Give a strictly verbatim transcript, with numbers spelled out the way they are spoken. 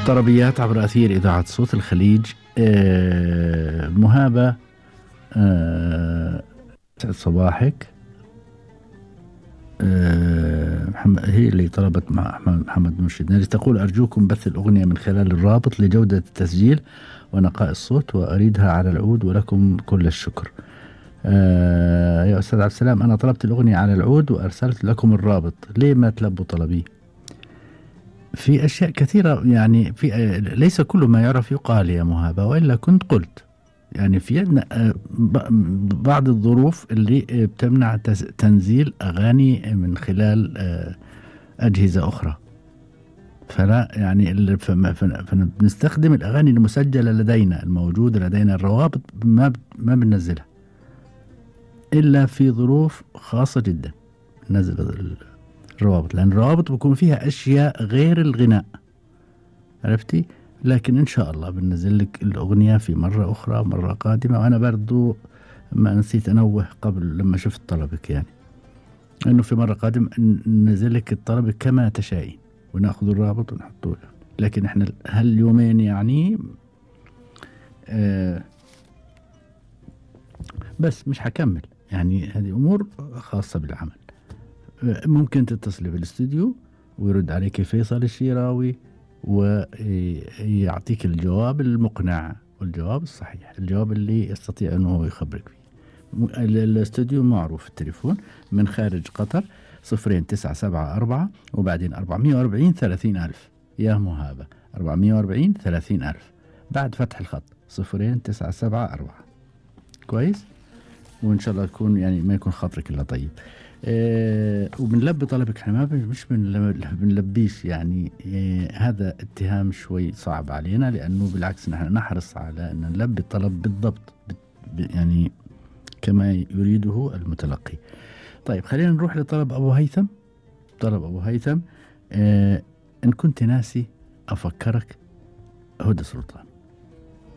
طربيات عبر أثير إذاعة صوت الخليج. آه مهابة، آه سعد صباحك. آه محمد هي اللي طلبت مع أحمد محمد مرشد ناري، تقول أرجوكم بث الأغنية من خلال الرابط لجودة التسجيل ونقاء الصوت، وأريدها على العود ولكم كل الشكر. آه يا أستاذ عبد السلام، أنا طلبت الأغنية على العود وأرسلت لكم الرابط، ليه ما تلبوا طلبي؟ في أشياء كثيرة يعني، في ليس كل ما يعرف يقال يا مهابة، وإلا كنت قلت يعني في عندنا بعض الظروف اللي بتمنع تنزيل أغاني من خلال أجهزة أخرى، فلا يعني فنستخدم الأغاني المسجلة لدينا الموجودة لدينا، الروابط ما ما بننزلها إلا في ظروف خاصة جدا نزل الروابط، لأن الروابط بيكون فيها أشياء غير الغناء، عرفتي؟ لكن إن شاء الله بنزل لك الأغنية في مرة أخرى، مرة قادمة. وأنا برضو ما نسيت أنوه قبل لما شفت طلبك يعني أنه في مرة قادمة ننزل لك الطلب كما تشائين ونأخذ الرابط ونحطه له، لكن إحنا هاليومين يعني آه بس مش حكمل يعني، هذه أمور خاصة بالعمل. ممكن تتصلي بالاستوديو ويرد عليك فيصل الشيراوي ويعطيك الجواب المقنع والجواب الصحيح، الجواب اللي يستطيع أنه يخبرك فيه. الاستوديو معروف التليفون من خارج قطر صفرين تسعة سبعة أربعة وبعدين أربعمية وأربعين ثلاثين ألف يا مهابة، أربعمية وأربعين ثلاثين ألف بعد فتح الخط صفرين تسعة سبعة أربعة. كويس، وإن شاء الله تكون يعني ما يكون خاطرك إلا طيب. آه وبنلبي طلبك، احنا ما مش بنلبيش يعني. آه هذا اتهام شوي صعب علينا، لأنه بالعكس نحن نحرص على أن نلبي الطلب بالضبط يعني كما يريده المتلقي. طيب خلينا نروح لطلب أبو هيثم. طلب أبو هيثم، آه إن كنت ناسي أفكرك، هدى سلطان.